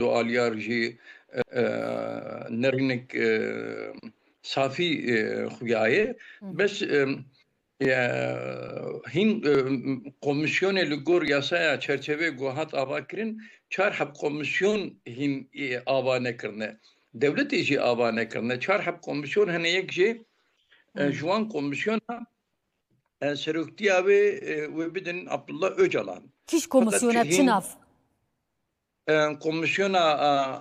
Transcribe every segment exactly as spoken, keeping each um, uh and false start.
dualiyar jî, e, e, nerînek, e, safî, e, xuya ye. Hı hı. Bes, e, e, hîn, e, komîsyonê li gor yasaya çerçevê ku hat avakirin, çar heb komîsyon hîn, e, ava nekirine. Dewletê jî ava nekirine. Çar heb komîsyon hene, yek jê, e, Hı. ji wan komîsyona, e, seroktiya wê, e, wê bidin Abdullah Ocalan. Kîş Fakat komîsyona çi hîn nav? E, komîsyona,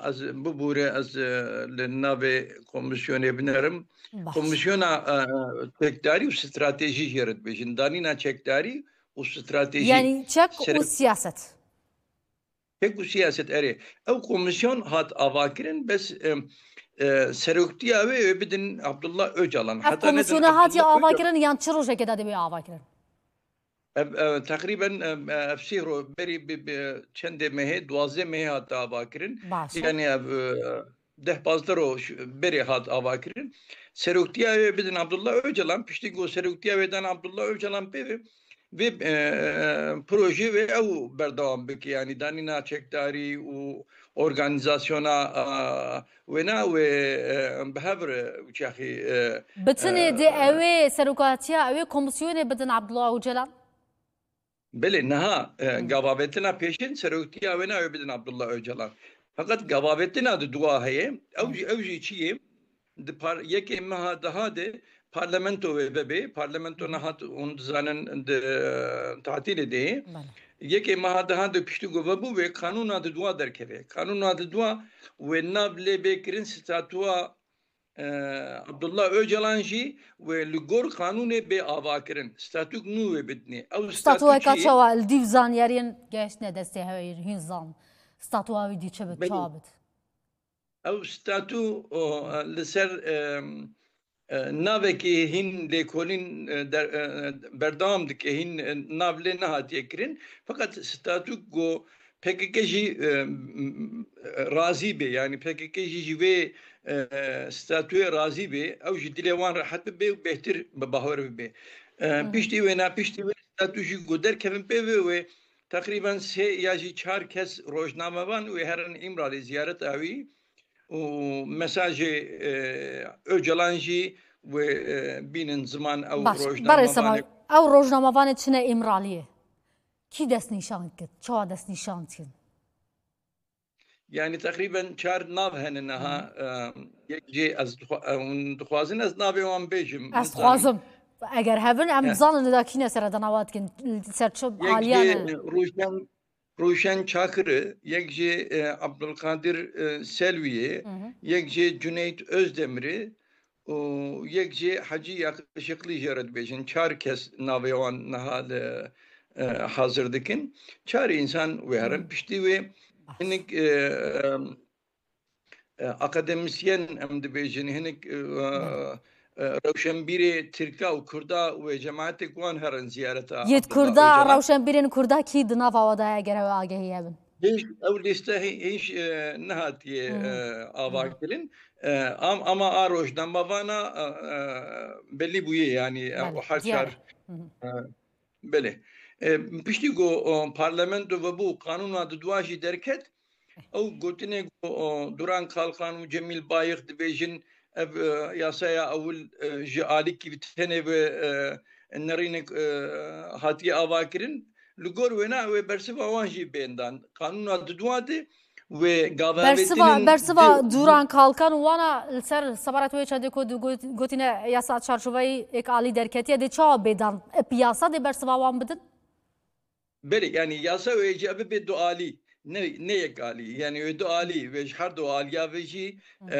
e, ez bibûre, ez, e, li navê komîsyonê binerim. Baş. Komîsyona, e, çekdarî û stratejî jê re dibêjin. Danîna çekdarî û stratejî. Yani çek û Sere- siyaset. Çek û siyaset, erê. Ew komîsyon hat avakirin, bes, e, e, seroktiya wê, wê bidin Abdullah Ocalan. Ev Heta nedin komîsyona hatiye Abdullah Ocalan avakirin yan çi rojekê de divê avakirin? Ev, ev, teqrîben, ev, ev sî ro-, berî bi, bi çendê mehê, duwazdeh mehê hate avakirin. Baş e. Yani ev, e, deh pazdeh roj berê hat avakirin. Seroktiya wê bidin Abdullah Ocalan, piştî ku seroktiya wê dan Abdullah Ocalan pê ve, vê, e, projê wê ew berdewam bike. Yani danîna çekdarî û organîzasyona, e, wêna wê, e, bi hev re uçaxî, e, Bitinê e, dê ew ê serokatiya ew ê komîsyonê bidin Abdullah Ocalan? Belê, niha, e, Hı. gavavetina pêşin seroktiya wêna wê bidin Abdullah Ocalan. Fakat gavavetina di dua heye. Ew Hı. jî, ew jî çi ye? Di par-, yekê meha daha de parlamento wê vebe. Parlamento Hı. nehat hûn dizanin di, e, tatîlê de ye. Belê. Yekê meha daha de piştî ku vebû wê kanûna di dua derkeve. Kanûna di dua wê nav lê bê kirin statûa, e, Abdullah Ocalan jî wê li gor qanûnê bê avakirin. Statûk nû wê bidinê. Ew Statûyeka statû çi ye? Çawa li dîv zanyariyên gehiştine destê hewê hîn zan. Statûa wî dî çi bit, Belê. Çawa bit? Ew statû, o, li ser, e, e, navekî hîn lêkolîn, e, der-, e, berdewam dike, hîn, e, nav lê nehatiye kirin. Feqet statû ku P K K jî, e, m-, m-, razî bê, yani P K K jî ji vê, e, statûyê razî bê, ew ji dilê wan rehet bibe û bêhtir bi bahwer bibe. E, Hı hı. Piştî wê, na piştî wê statû jî ku derkevin pê ve wê teqrîben sê ya jî çar kes rojnamevan wê herin Îmralê ziyareta wî û mesajê, e, Ocalan jî wê, e, bînin ziman ew Baş, rojnamevanê. Berê Sema, ew rojnamevanê çine Îmraliyê? Kî destnîşan kir? Çawa destnîşan kirin? Yani teqrîben çar nav hene niha, Hı. e, yek jê ez dixwa-, e, hûn dixwazin ez navê wan bêjim, Ez nizanim. dixwazim. Eger hebin, em He. bizanin da kîne sere danawa dikin, ser çi Yek aliyan jê, e? e, Rûşen, Rûşen Çakir e, yek jê, e, Abdulkadir, e, Selwî ye, Hı hı. yek jê Cüneyt Özdemir e, û yek jê Hecî Yakışıklı jê re dibêjin. Çar kes navê wan niha li, e, hazir dikin. Çar însan wê herin. Hı. Piştî wê Baş. hinek, e, e, e, akademisyen em dibêjin, hinek, e, Hı. e, rewşenbîrê Tirka û Kurda wê cemaetê ku wan herin ziyareta Yêt Abdullah Kurda, Ocalan. Rewşenbîrên Kurda kî di nava we de ye, eger ew agehî hebin? Hîç, ew lîste hî-, hîç, e, nehatiye, Hmm. e, ava Hmm. kirin. E, am-, ama a rojnamevana, e, e, belî bûye, yani, e, Belê, o her diyar çar, e. Hı hı. e, belê. E, piştî ku, o, parlamento vebû, qanûna di dua jî derket, ew gotinê ku, o, Duran Kalkan û Cemîl Bayik dibêjin, ev, e, yasaya ewil, e, ji alîkî bi tenê ve, e, nerînek, e, hatiye ava kirin. Li gor wêna wê bersiva wan jî bên dan. Qanûna di dua de wê gava Bersiva, avêtinên bersiva di Duran Kalkan û wana li ser sebaret wê çendê ku du got-, gotine yasa çarçoveyî êk alî derketiye dê çawa bê dan? Ep yasa dê bersiva wan bidin? Belê, yani yasa wê jî bibe du alî, ne, ne yek alî. Yani wê du alî, wê ji her du aliya ve jî, Hı. e,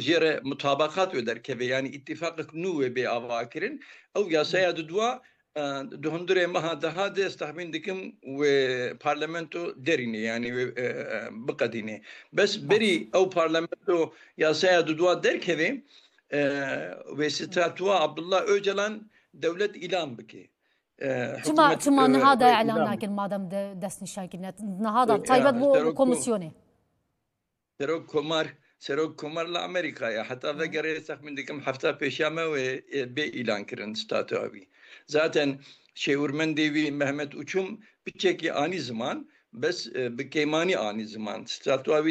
jê re mutabakat wê derkeve. Yani îttifaqek nû wê bê ava kirin. Ew yasaya Hı. di dua, e, di hundirê meha daha de ez texmîn dikim wê parlamento derîne, yani wê, e, e, biqedîne. Bes Baş. berî ew parlamento yasaya di dua derkeve, e, wê statûa Abdullah Ocalan dewlet îlan bike. E, Çima, hikûmet, çima e, niha da wê îlan îlan nakin madem de destnîşan kirine? Niha da E, taybet e, bo serok ko-, komîsyonê. Serok Komar, Serok Komar li Amerîka ye. Heta Hı. vegerê texmîn dikim hefta pêşiya me wê, e, bê îlan kirin statûa wî. Zaten şêwirmendê wî Mehmet Uçum piçekî anî ziman, bes, e, bi kêmanî anî ziman. Statûa wî